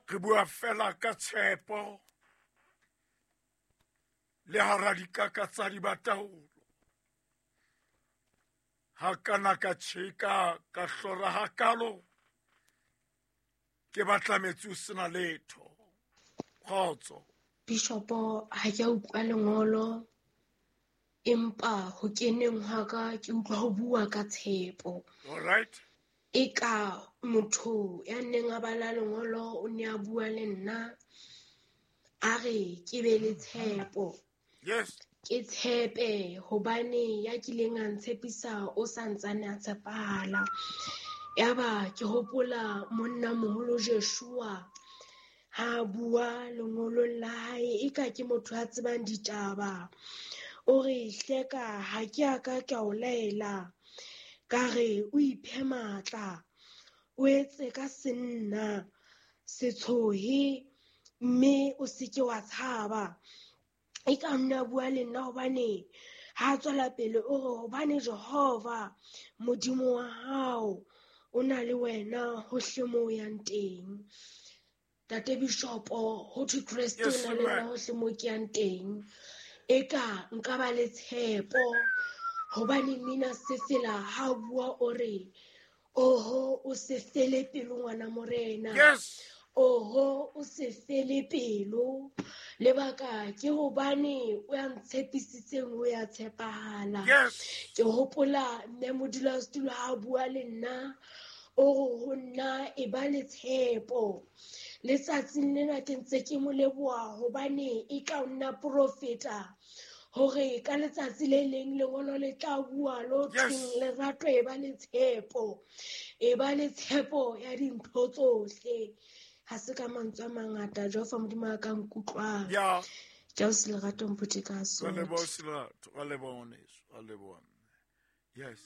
Re bua fela ka tshepo le hara dikaka tsa dibataolo. Ha kana ka tjheka ka hlora hakalo, ke batla metsi o sena letho. Kgotso. Bishopo, ha ke a utlwa lengolo, empa ho keneng hwa ka ke utlwa ho bua ka tshepo. All right. Eka motho ya neng a bala lengolo o ne a bua le nna, a re ke be le tshepo. Yes. Ke tshepe hobane ya kileng a ntshepisa o sa ntsane a tshepahala. Yaba ke hopola monna moholo Joshua ha a bua lengolong la hae, eka ke motho a tsebang ditaba. O re hleka ha ke a ka ka o laela, ka re o iphe matla, o etse ka senna, se tshohe mme o se ke wa tshaba. E ka nna bua le nna hobane ha tswela pele o re hobane Jehova Modimo wa hao o na le wena hohle moo o yang teng. Tate Bishopo, ho thwe Kreste o na le nna hohle moo ke yang teng. Eka nka ba le tshepo hobane mmina sefela ha bua o re oho o se fele pelo ngwana morena. Yes. Oho o se fele pelo. Lebaka ke hobane o ya ntshepisitseng o ya tshepahala. Yes. Ke hopola mme modulasetulo ha bua le nna o re ho nna e ba le tshepo. Letsatsing lena ke ntse ke mo leboha hobane e ka nna profeta hore ka letsatsi le leng lengolo le tla bua lo thweng lerato e ba le tshepo, e ba le tshepo ya dintho tsohle. Ha se ka mantswe a mangata, Jehova Modimo a ka nkutlwang. Yeah. Ke o se lerato mpotse ka sona. Wa leboha se lerato, wa leboha ngwaneso, wa leboha mme. Yes.